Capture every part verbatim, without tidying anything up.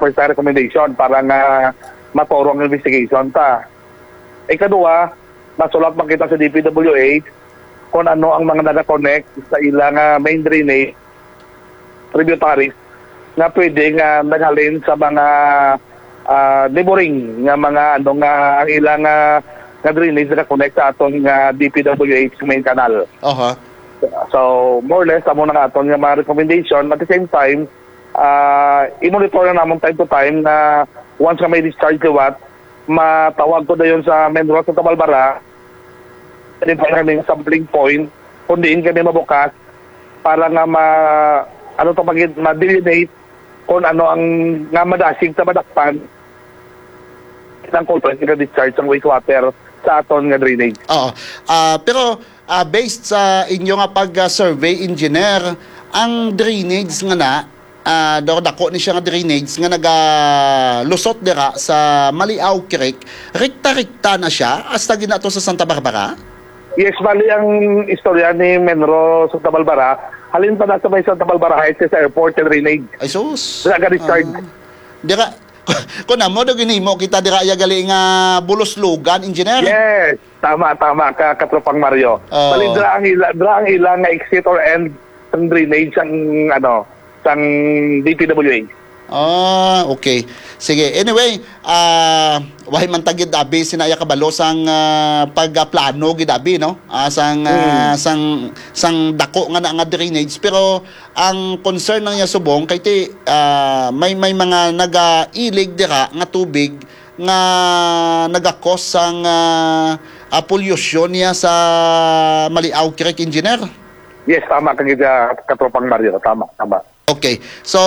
first time recommendation para nga maturo ang investigation ta. Ikadua, nasulat man kita sa D P W H kung ano ang mga nag-connect sa ilang, ah, main drainage, tributaries, nga pwede nga naghalin sa mga, ah, neighboring nga mga, ano, nga ang ilang, ah, nga drainage nag-connect sa aton nga D P W H main canal. Aha. So, more or less, amo na nga aton nga mga recommendation. At the same time, ah, i-monitor na namon time to time na once nga may discharge liwat, matawag ko dayon sa Menro sa Tabalbara, identify kami nga sampling point kung diin kami mabukas para nga ma-, ano to, pag ma-delineate kung ano ang nga madasig sa madakpan ng culvert nga discharge ang wastewater sa aton nga drainage. Oo. Ah, pero, ah, based sa inyo nga pag-survey, engineer, ang drainage nga na, ah, daw dako ni siya nga drainage nga nagalusot dira sa Maliaw Creek, rekta-rekta na siya hasta gid na to sa Santa Barbara? Yes, bali ang istorya ni Menro sa Tabalbara, halin pa na sa may Santa Barbara Heights sa airport and drainage. Ay, sus. Dira ka discharge. Ah, dira, kung amo, do ginhimo kita dira, iya gali nga buluslugan, engineer. Yes, tama, tama ka, Katropang Mario. Oo. Bali, dira ang ila, dira ang ila nga exit or end sang drainage sang, ano, sang D P W H. Ah, okay. Sige. Anyway, ah, wahi man ta gid abi sinaya kabalo sang, ah, pagplano gid abi, no? Ah, sang, ah, Mm. sang, sang dako nga na nga drainage, pero ang concern na niya subong kay ti, ah, may, may mga nagailig dira nga tubig nga nagakos sang, ah, ah, polusyon niya sa Maliaw Creek, engineer? Yes, tama ka gid, ah, Katropang Mario. Tama, tama. Okay. So,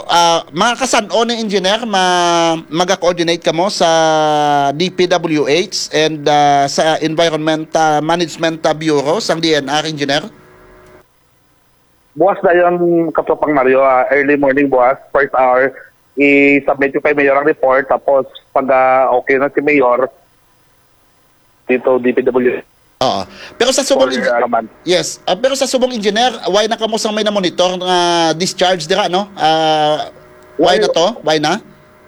ah, mga kasan-o ni engineer, ma-, maga-coordinate kamo sa D P W H and, ah, sa Environment, ah, Management, ah, Bureau sang D N R, engineer? Buwas dayon, Katropang Mario, ah, early morning buwas, first hour, i-submit ko kay Mayor ang report, tapos pag, ah, okay na si Mayor, dito, D P W. Oo. Pero sa subong Or, engi-, ah, man. Yes. Ah, pero sa subong engineer, why na kamo sang may na-monitor nga discharge dira, no? Ah, why Why na to? Why na?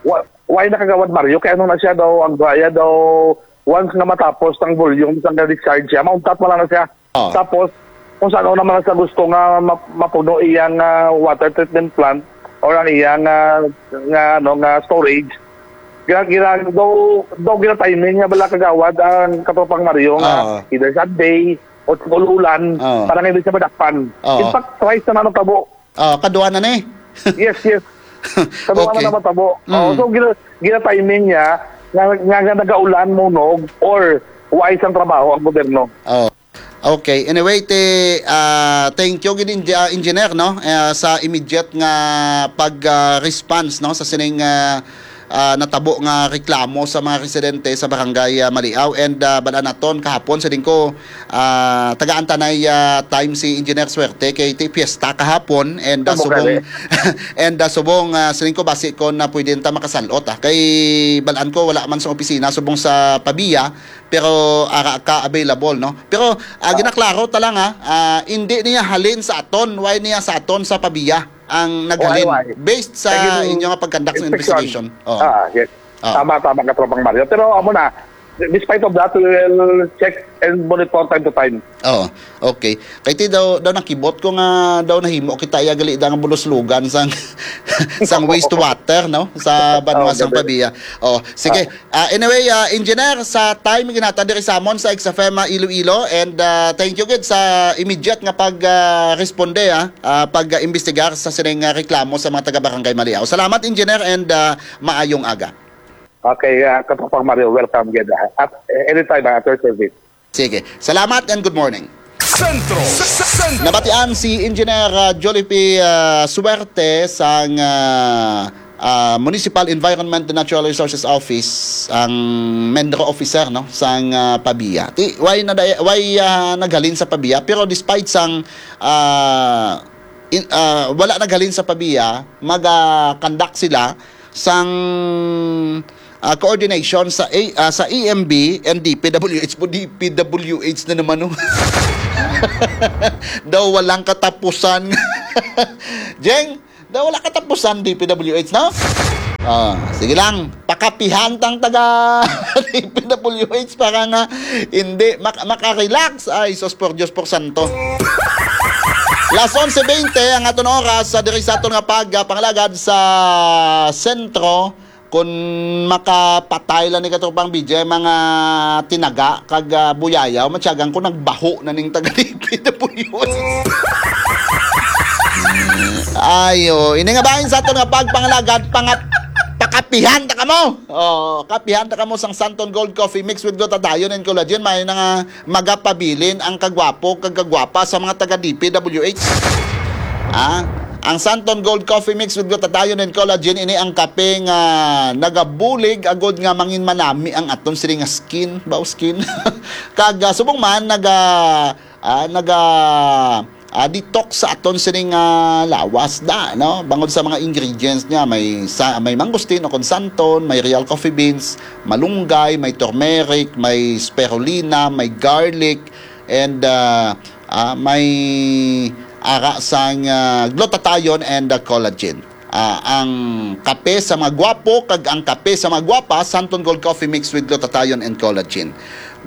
Wa-, why na, Kagawad Mario? Kay ano na siya daw, ang baya daw, once nga matapos ang volume sa discharge siya, mauntat mo lang na siya. Oo. Tapos, kung saan naman sa gusto nga ma-, mapuno iyang, ah, water treatment plant or ang iyang, ah, nga, ano, nga storage, gina-, gina-, daw, daw gina-timing nga bala, Kagawad, ang Katropang Mario nga Oo. either Sunday o ul-ulan Oo. para nga hindi siya madakpan. Oo. In fact, twice na natabo. Ah, kadua na ni. Yes, yes. Kadua Okay. na naman tabo. Mm. Oh, so, gina-, gina-timing niya nga, nga, nga nagaulan, munog, or wais ang trabaho ang gobyerno. Oh. Okay. Anyway, te, ah, thank you gid, Engi-, ah, engineer, no? Eh, sa immediate nga pag, ah, response, no, sa sining, ah, ah, natabo nga reklamo sa mga residente sa barangay, ah, Maliaw. And, ah, bal-an naton kahapon, siling ko, ah, tagaan ta nay, ah, time si Engineer Suerte kay ti fiesta kahapon, and, ah, Tama ka, subong, eh. and, ah, subong, ah, siling ko, basi ko na pwede ta makasal-ot, ah. Kay bal-an ko wala man sa opisina subong sa Pavia, pero ara ka available, no? Pero, ah, Ah. ginaklaro ta lang, ah, ah, hindi niya halin sa aton, why niya sa aton sa Pavia ang naghalin, Why, why? based sa Kay gin-, inyo nga pag-conduct ng inspection. investigation. Oh. Ah, yes. Ah. Tama, tama, Katropang Mario. Pero amo na, despite of that, we will check and monitor time to time. Oo. Okay. Kay ti daw, daw nakibot ko nga daw nahimo kita iya gali da nga buluslugan sang, sang wastewater, no? Sa banwa Oo, sang gabi. Pavia. Oh, sige. Ah. Ah, anyway, ah, engineer, sa time ginhatag diri sa amon sa X F M, ah, Iloilo, and, ah, thank you gid sa immediate nga pag, ah, responde, ah, ah, pag, ah, imbestigar sa sining, ah, reklamo sa mga taga Barangay Maliaw. Salamat, engineer, and, ah, maayong aga. Okay, ah, Katropang Mario, welcome gid, ah. At, eh, anytime, ah, at your service. Sige. Salamat and good morning. Sentro. Sentro. Nabatian si Engineer, ah, Jolliffe, ah, Suerte sang, ah, ah, Municipal Environment and Natural Resources Office, ang MENRO officer, no, sang, ah, Pavia. Ti, why na day-, why, ah, naghalin sa Pavia? Pero despite sang, ah, in, ah, wala naghalin sa Pavia, maga-conduct sila sang, ah, coordination sa A-, ah, sa E M B and D P W H. Mo D P W H na naman, no? Daw walang katapusan. Jeng, daw wala katapusan D P W H, no? Ah, sige lang, pakapihan tang taga D P W H para nga hindi mak-, makarelax. Ay, sus, por Dios, por santo. Las onse veinte ang aton oras sa diri sa aton nga pag-, ah, pangalagad sa sentro. Kung makapatay lang ni Katropang B J, mga tinaga kag, ah, buyayaw, matyagan ko nagbaho na ning taga D P W H. Ayo, ini nga bahin sa aton nga pagpangalagad, pangat-, pakapihan ta kamo. Oh, kapihan ta kamo sang Santon Gold Coffee Mix with Glutathione and Collagen. May na nga magapabilin ang kagwapo kag kagwapa sa mga taga D P W H. Ah, ang Santon Gold Coffee Mix with Glutathione and Collagen, ini ang kape nga nagabulig agod nga mangin manami ang aton sini nga skin, baw skin. Kag, ah, subong man naga, ah, naga, ah, detox sa aton sining, ah, lawas da, no? Bangod sa mga ingredients niya, may sa-, may mangosteen o kung santon, may real coffee beans, malunggay, may turmeric, may spirulina, may garlic, and, ah, ah, may ara sang, ah, glutathione and, ah, collagen. Ah, ang kape sa mga gwapo kag ang kape sa mga gwapa, Santon Gold Coffee Mix with Glutathione and Collagen.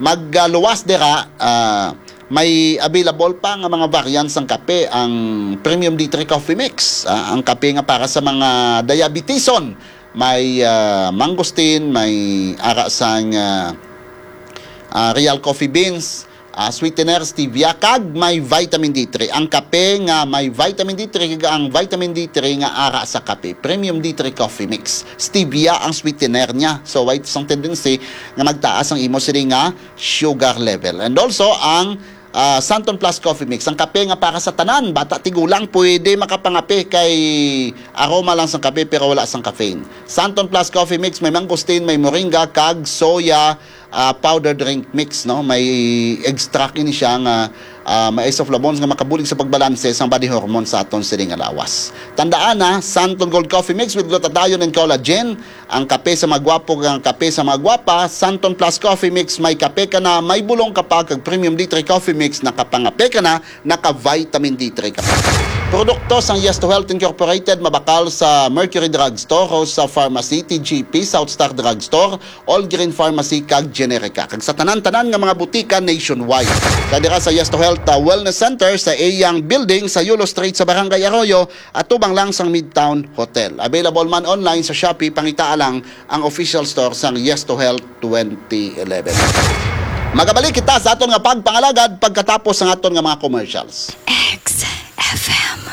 Magluwas dira, ah, may available pa nga mga variants sang kape, ang Premium D three Coffee Mix, ah, ang kape nga para sa mga diabetison, may, ah, mangosteen, may ara sang, ah, ah, real coffee beans, ah, sweetener, stevia, kag may vitamin D three. Ang kape nga may vitamin D three, kag ang vitamin D three nga ara sa kape, Premium D three Coffee Mix. Stevia ang sweetener niya. So, way sang tendency nga magtaas ang imo sini nga sugar level. And also, ang, ah, Santon Plus Coffee Mix, ang kape nga para sa tanan, bata, tigulang, pwede makapangape kay aroma lang sang kape pero wala sang caffeine. Santon Plus Coffee Mix, may mangosteen, may moringa, kag soya, ah, powder drink mix, no? May extract ini siya nga, ah, may isoflavones nga makabulig sa pagbalanse sang body hormone sa aton sini nga lawas. Tandaan na, Santon Gold Coffee Mix with glutathione and collagen, ang kape sa mga gwapo, ang kape sa mga gwapa, Santon Plus Coffee Mix, may kape ka na, may bulong ka pa, kag Premium D three Coffee Mix, nakapangape ka na, naka-vitamin D three ka pa. Produkto sang Yes to Health Incorporated, mabakal sa Mercury Drugstore, Rosa Pharmacy, T G P, South Star Drugstore, All Green Pharmacy, kag Generica, kag sa tanan-tanan nga mga butika nationwide. Sa dira sa Yes to Health, uh, Wellness Center, sa iyang building sa Yulo Street sa Barangay Arroyo, atubang lang sang Midtown Hotel. Available man online sa Shopee, pangitaa lang ang official store sang Yes to Health twenty eleven. Magabalik kita sa aton nga pagpangalagad pagkatapos sang aton nga mga commercials. X F M.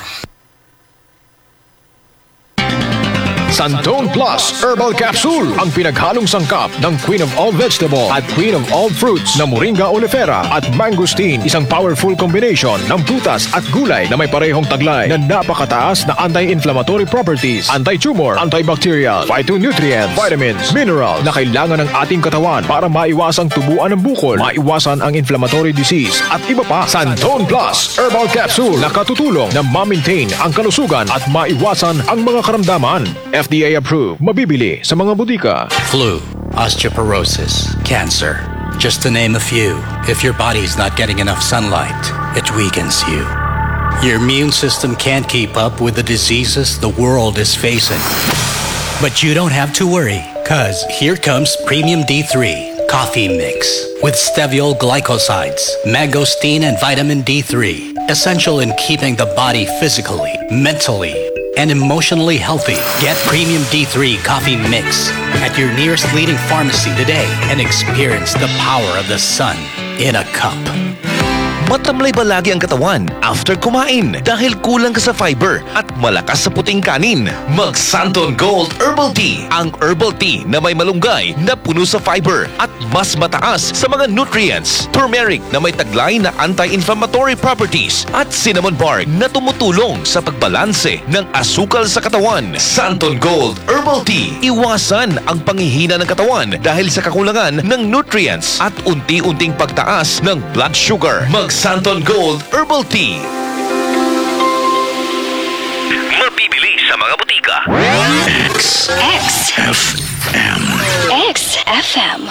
Santon Plus Herbal Capsule, ang pinaghalong sangkap ng Queen of All Vegetable at Queen of All Fruits na Moringa oleifera at Mangosteen, isang powerful combination ng prutas at gulay na may parehong taglay na napakataas na anti-inflammatory properties, anti-tumor, antibacterial, phytonutrient, vitamins, mineral na kailangan ng ating katawan para maiwasang tubuan ng bukol, maiwasan ang inflammatory disease, at iba pa. Santon Plus Herbal Capsule nakatutulong na ma-maintain ang kalusugan at maiwasan ang mga karamdaman. F D A approved, mabibili sa mga botika. Flu, osteoporosis, cancer, just to name a few. If your body's not getting enough sunlight, it weakens you. Your immune system can't keep up with the diseases the world is facing. But you don't have to worry, 'cause here comes Premium D three Coffee Mix with steviol glycosides, mangosteen, and vitamin D three, essential in keeping the body physically, mentally, and emotionally healthy. Get Premium D three Coffee Mix at your nearest leading pharmacy today and experience the power of the sun in a cup. Matamlay ba lagi ang katawan after kumain dahil kulang ka sa fiber at malakas sa puting kanin? Mag Santon Gold Herbal Tea, ang herbal tea na may malunggay na puno sa fiber at mas mataas sa mga nutrients. Turmeric na may taglay na anti-inflammatory properties at cinnamon bark na tumutulong sa pagbalanse ng asukal sa katawan. Santon Gold Herbal Tea. Iwasan ang panghihina ng katawan dahil sa kakulangan ng nutrients at unti-unting pagtaas ng blood sugar. Mag Santon Gold Herbal Tea. Mabibili sa mga butika. X. X. F M. X F M.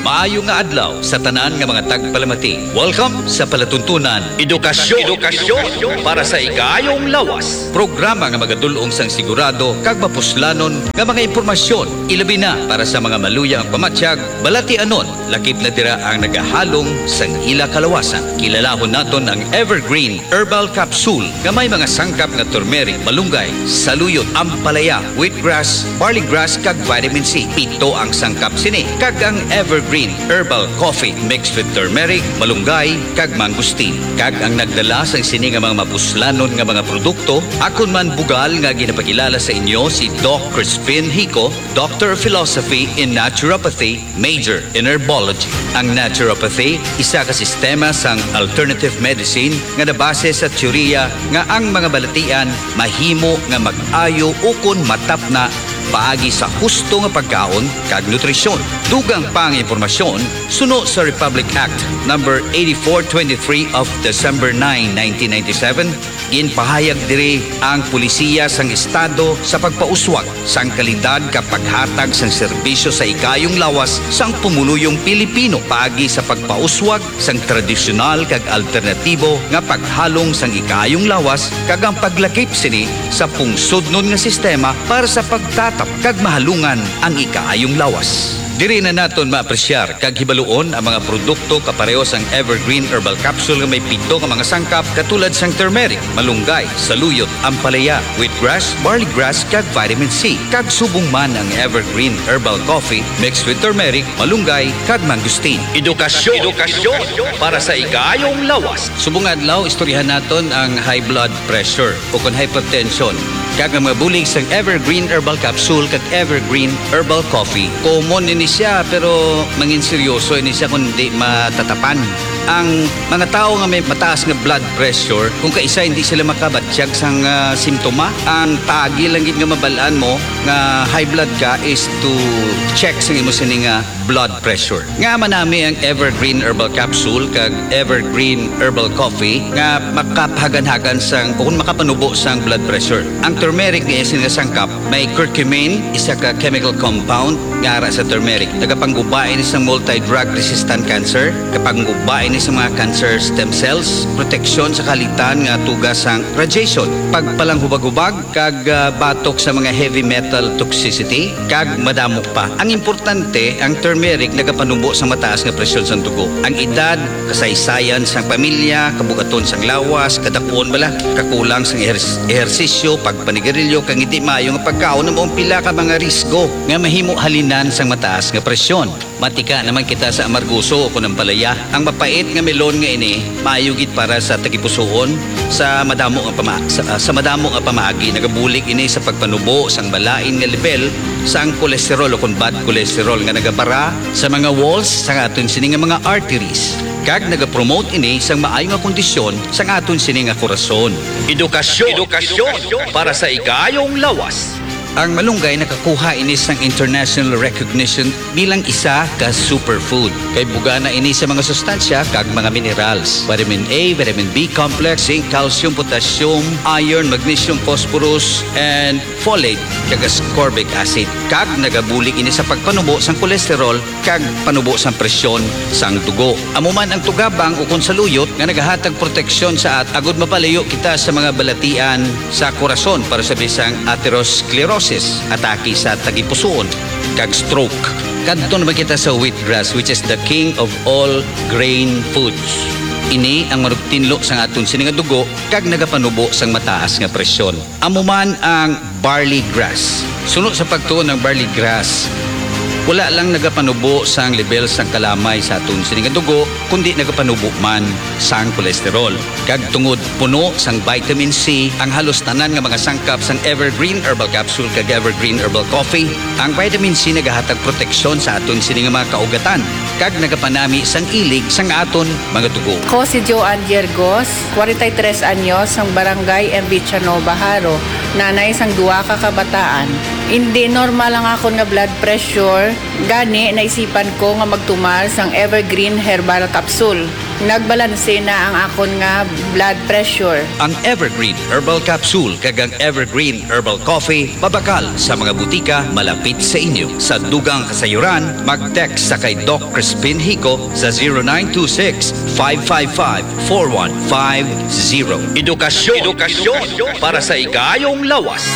Maayo nga adlaw sa tanan nga mga tagpalamati. Welcome sa palatuntunan Edukasyon, Edukasyon para sa Ikayong Lawas, programa nga magadul-ong sang sigurado kag mapuslanon nga mga impormasyon, ilabi na para sa mga maluya ang pamatyag, balatianon, lakip na dira ang nagahalong sang ila kalawasan. Kilalahon naton ang Evergreen Herbal Capsule nga may mga sangkap nga turmeric, malunggay, saluyot, ampalaya, wheatgrass, barley grass, kag vitamin C. Pito ang sangkap sini, kag ang Evergreen Herbal Coffee mixed with turmeric, malunggay, kag mangosteen. Kag ang nagdala sang sini nga mga mapuslanon nga mga produkto, akon man bugal nga ginapakilala sa inyo si Doc Crispin Hico, Doctor of Philosophy in Naturopathy, major in herbology. Ang naturopathy, isa ka sistema sang alternative medicine nga nabase sa teorya nga ang mga balatian mahimo nga mag-ayo ukon matapna paagi sa husto nga pagkaon kag nutrisyon. Dugang pa ang impormasyon, suno sa Republic Act number eighty-four twenty-three of December nine, nineteen ninety-seven, ginpahayag diri ang polisiya sang Estado sa pagpauswag sang kalidad kag paghatag sang serbisyo sa ikayong lawas sang pumuluyong Pilipino paagi sa pagpauswag sang tradisyonal kag alternatibo nga paghalong sang ikayong lawas kag ang paglakip sini sa pungsodnon nga sistema para sa pagtatap kag mahalungan ang ikayong lawas. Diri na naton maapresyar kag hibaluon ang mga produkto kapareho sang Evergreen Herbal Capsule nga may pito ka mga sangkap, katulad sang turmeric, malunggay, saluyot, ampalaya, wheatgrass, barley grass, kag vitamin C. Kag subong man ang Evergreen Herbal Coffee mixed with turmeric, malunggay, kag mangosteen. Edukasyon, Edukasyon para sa ikayong lawas. Subong nga adlaw, istoryahan naton ang high blood pressure o kon hypertension, kag ang mga bulig sang Evergreen Herbal Capsule kag Evergreen Herbal Coffee. Common ini siya, pero mangin seryoso ini siya kung di matatapan. Ang mga tawo nga may mataas nga blood pressure, kung kaisa hindi sila makabatyag sang, ah, simptoma, ang paagi lang gid nga mabal-an mo nga high blood ka is to check sang imo sini nga blood pressure. Nga manami ang Evergreen Herbal Capsule kag Evergreen Herbal Coffee nga makapahaganhagan sang, o kung makapanubo sang blood pressure. Ang turmeric nga iya sini nga sangkap may curcumin, isa ka chemical compound nga ara sa turmeric. Nagapangguba ini sang multi-drug resistant cancer, kapangguba ini sa mga cancer stem cells, proteksyon sa kalitan nga tugas sang radiation, pagpalanghubag-hubag, kag, ah, batok sa mga heavy metal toxicity, kag madamo pa. Ang importante, ang turmeric nagapanubo sa mataas nga presyon sang dugo. Ang edad, kasaysayan sang pamilya, kabugaton sang lawas, kadakuon bala, kakulang sang eher-, ehersisyo, pagpanigarilyo, kag hindi maayo nga pagkaon amo ang pila ka mga risgo nga mahimo halinan sang mataas nga presyon. Matika naman kita sa amargoso o kon ampalaya. Ang mapait nga melon nga ini maayo gid para sa tagipusoon sa madamo nga pama-, sa, sa madamo nga pamaagi. Nagabulig ini sa pagpanubo sang malain nga lebel sang kolesterol o kon bad cholesterol nga nagabara sa mga walls sang aton sini nga mga arteries, kag nagapromote ini sang maayo nga kondisyon sang aton sini nga korason. Edukasyon, Edukasyon para sa ikayong lawas. Ang malunggay nakakuha ini sang international recognition bilang isa ka superfood. Kay bugana ini sa mga sustansya kag mga minerals, vitamin A, vitamin B complex, zinc, calcium, potassium, iron, magnesium, phosphorus, and folate, kag ascorbic acid. Kag nagabulig ini sa pagpanubo sang kolesterol kag panubo sang presyon sang dugo. Amo man ang tugabang ukon saluyot nga nagahatag proteksyon sa at-, agud mapalayo kita sa mga balatian sa korason, para sa bisang atherosclerosis, atake sa tagipusoon, kag stroke. Kadto naman kita sa wheatgrass, which is the king of all grain foods. Ini ang manugtinlo sang aton sini nga dugo kag nagapanubo sang mataas nga presyon. Amo man ang barley grass. Suno sa pagtuon, ang barley grass wala lang nagapanubo sang lebel sang kalamay sa aton sini nga dugo, kundi nagapanubo man sang kolesterol. Kag tungod puno sang vitamin C ang halos tanan nga mga sangkap sang Evergreen Herbal Capsule kag Evergreen Herbal Coffee, ang vitamin C nagahatag proteksyon sa aton sini nga mga kaugatan kag nagapanami sang ilig sang aton mga dugo. Ko si Joanne Yergos, forty-three anyos, sang Barangay M V Chanova, Jaro, nanay sang duha ka kabataan. Indi normal ang akon nga blood pressure, gani naisipan ko nga magtumal sang Evergreen Herbal Capsule. Nagbalanse na ang akon nga blood pressure. Ang Evergreen Herbal Capsule kag ang Evergreen Herbal Coffee mabakal sa mga butika malapit sa inyo. Sa dugang kasayuran, mag-text sa kay Doc Crispin Hico sa zero nine two six, five five five, four one five zero. Edukasyon, edukasyon para sa igayong lawas.